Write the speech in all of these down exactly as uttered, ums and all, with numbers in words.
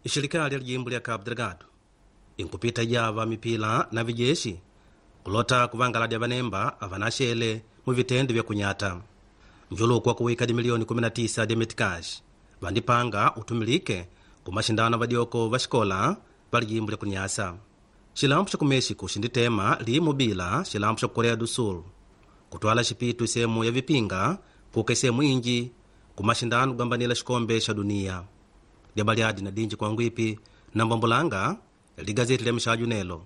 Ixirikali ya lijimbo lya Cabo Delgado inkupita java mipila na vijeshi kulota kuvangaladya vanemba avanaxele mu vitendo vya kunyata njuluku wa kuwika dimilioni kumi na tisa dya metikaxi vandipanga utumilike ku maxindano vadyoko va xikola va lijimbo lya kunyasa. Xilampu xa ku México xinditema limo bila xilampu xa ku Coreia do Sul kutwala xipitu sehemu ya vipinga kuka sehemu inji ku maxindano kugambanila xikombe xa dunia. Dyabaliadi na dinji kwangwipi na mbambulanga ligazeti lya mixaju nelo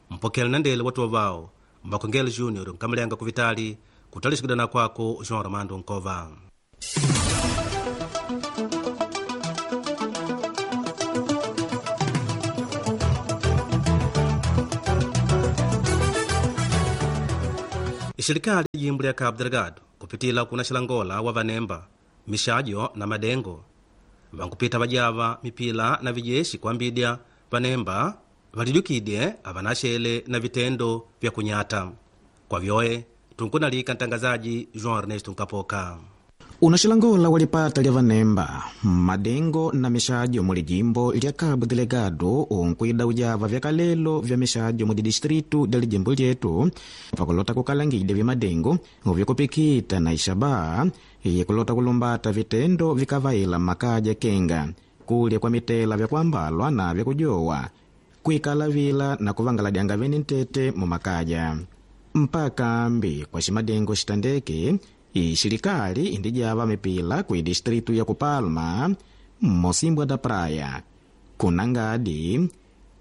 mpokele na ndele watu wavao Mbakongele Junior nkamulenga kuvitali kutali kwako João Armando Nkova. Ixirikali jimbo lya Cabo Delgado kupitila kuna xilangola wa vanemba mixajo na madengo vankupita vajava mipila na vijeshi kwambidya vanemba validukidye avanaxele na vitendo vya kunyata. Kwa vyoe tunkunalika ntangazaji João Ernesto Nkapoka. Unaxilangola walipata lya vanemba madengo na mixajo muli jimbo lya Cabo Delgado unkwida ujava vya kalelo vya mixajo muli distritu lya lijimbo lyetu pakulota kukalangidya vya uvyakupikita na ixaba yekulota kulumbata vitendo vikavaila makaja kenga kulya kwa mitela vyakuambalwa na vyakujowa kuikala vila na kuvangaladyanga vene ntete mumakaja mpaka mbi kwa ximadengo xitandeke ixirikali indijava mipila ku distritu ya Kupalma, Mosimbwa da Praia, kunangadi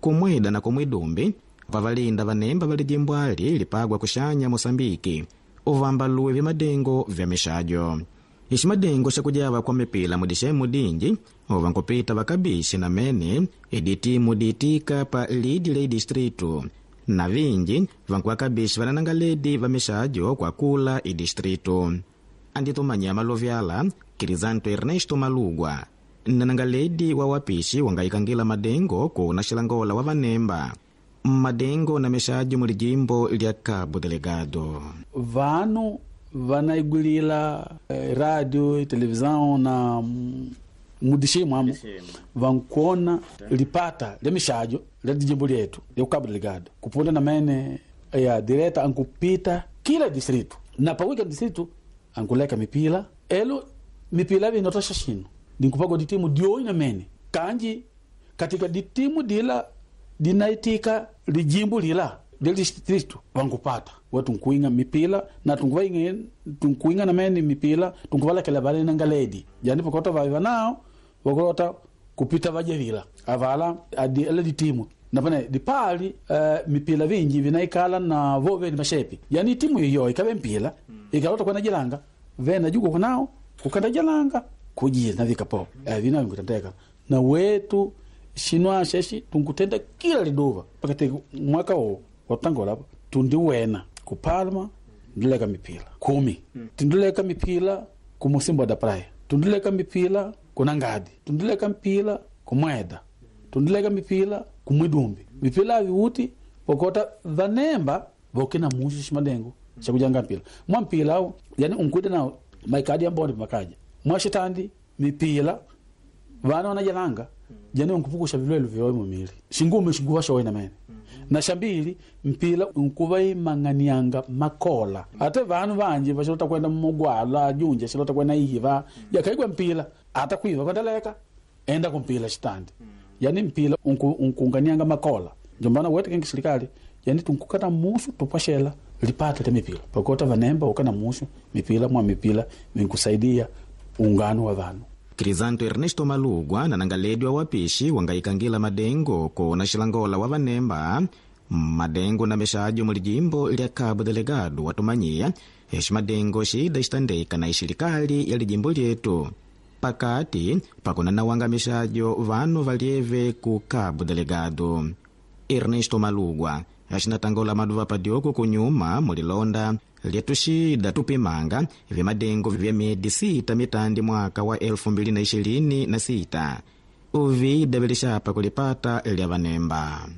kumwida na kumwidumbi pavalinda vanemba valijimbwali lipagwa kuxanya Mosambiki uvambaluwe vya vya mixajo. Iximadengo xakujava kwa mipila mudixemu dinji uvankupita vakabixi na mene iditimu diitika pa lidi la idistritu na vinji vankuwakabixi vananangaledi va mixajo kwa kula idistritu. Anditumanya malovyala Crisanto Ernesto Malugwa nanangaledi wa wapixi wangayikangila madengo kuna xilangola wa vanemba madengo na mixajo muli jimbo lya Cabo Delgado. Vanu vanaigwilila eh, radio televisão na mudixemu amo vankuona lipata lya mixajo lya dijimbo lyetu lya Cabo Delgado kupunda na mene ya direta ankupita kila distrito na pawika distrito ankuleka mipila elo mipila vinotosha xino dinkupago ditimu dioi na mene kanji katika ditimu dila dinaitika lijimbo lila lya distrito vankupata we tunkuinga mipila na tunkuvainga tunkuinga na mene mipila tunkuvalekela vale nangaledi yani pakota vaiva nao vakulota kupita vajevila avala adi ele ditimu napane dipali uh, mipila vinji vinaikala na vo veni mashepi yani timu iyo ikave mpila mm. ikalota kwena jilanga vena juko kunao kukanda jalanga kujira na vikapo uh, vina vinkutendeka na wetu xinwa xexi tunkutenda kila liduva pakati mwaka wo watangola tundiwena ku Palma ndileka mipila kumi mm. tundileka mipila ku Mosimbwa da Praia tundileka mipila ku Nangadi tundileka mpila ku Mweda tundileka mipila ku Mwidumbi mipila aviuti pokota vanemba vokina mushu ximadengo xakujanga mpila mwa mpila au yani unkwida nao maikadi ya mbonde makaja mwa xitandi mipila vana wanajalanga jani unkupukusha vilwelo vyowe mumili xingume xinguva xowe na mene na xambili mpila unkuva imang'anianga makola ate vanu vanji vaxilota kwenda mugwala junja xilota kwenda iva yakaigwa mpila ata kuiva kwendaleka enda kumpila xitandi yani mpila unku, unkunganianga makola njombana wete kengi silikali yani tunkukata musu tupwaxela lipata lya mipila pakota vanemba ukana musu mipila mwa mipila vinkusaidia ungano wa vanu. Crisanto Ernesto Malugwa nanangaledi wa wapixi wangayikangila madengo kona xilangola wa vanemba madengo na mixajo muli jimbo lya Cabo Delgado watumanyiya exi madengo xida xitandeka na ixirikali ya lijimbo lyetu pakati pakunanawanga mixajo vanu valyeve ku Cabo Delgado. Ernesto Malugwa axinatangola maduva padyoko kunyuma mulilonda lyetuxida tupimanga vya vya miedi sita mitandi mwaka wa elfu mbili na ishirini na sita uvida vilixapa kulipata lya vanemba.